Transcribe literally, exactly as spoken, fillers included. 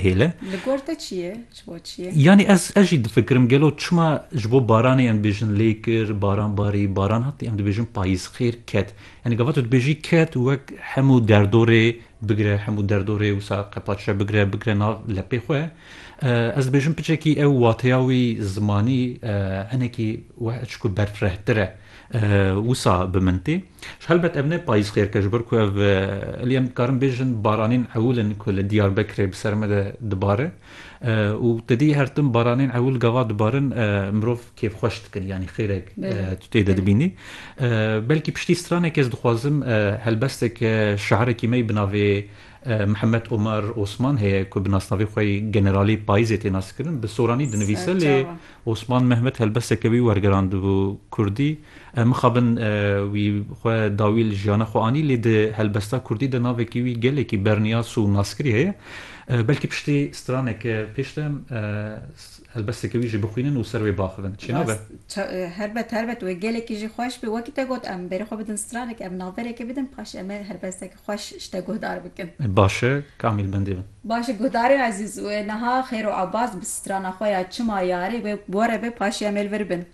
hêle. Li gor te çi ye? Ji bo çi ye? Yanî ez, ez jî difikirim, gelo çima ji bo baranê em dibêjin lê kir, baran barî, baran hatî, em dibêjin payîz xêr ket. Yanî gava tu dibêjî ket, wek hemû derdorê bigire, hemû derdorê wisa qepaçe bigire, bigire nav lepê xwe. E, ez dibêjim piçekî ew wateya wî zimanî, e, hinekî weh çiku berfirehtir e, e, wisa bi min tê. Ji helbet ev ne payîz xêr ke, ji ber ku ev, e, elî em dikarin bêjin baranên ewil in ku li Diyarbekirê bi ser me de dibare. E, û te dî her tim baranên ewil gava dibarin, e, mirov kêfxweş dikin, yanî xêrek, Belê. e, tu tê de Belê. dibînî. E, belkî piştî stranekê ez dixwazim, e, helbestek, e, şairekî me yî bi navê, e, Mihemed Omer Osman heye ku bi nasnavê xwe yî Generalê Payîzê tê naskirin. Bi soranî dinivîse, lê Serçava. Osman Mehmet helbesteke wî wergerandibû kurdî. E, mixabin, e, wî xwe dawî li jiyana xwe anî, lê di helbesta kurdî de navekî wî gelekî berniyas û naskirî heye. E, belkî piştî straneke pêş de em, e, s-, helbesteke wî jî bixwînin û ser wê baxivin. Çênabe? Rast, ça-, e, helbet, helbet, wê gelekî jî xweş be. Wekî te got, em berê xwe bidin stranek, em navbereke bidin, paşê em ê helbestek xweş ji te guhdar bikin. Baş e, kamîl bendê bin. Baş e, guhdarên ezîz, wê niha Xêro Abbas bi strana xwe ya Çima Yarê wê were be, paşê em ê li vir bin.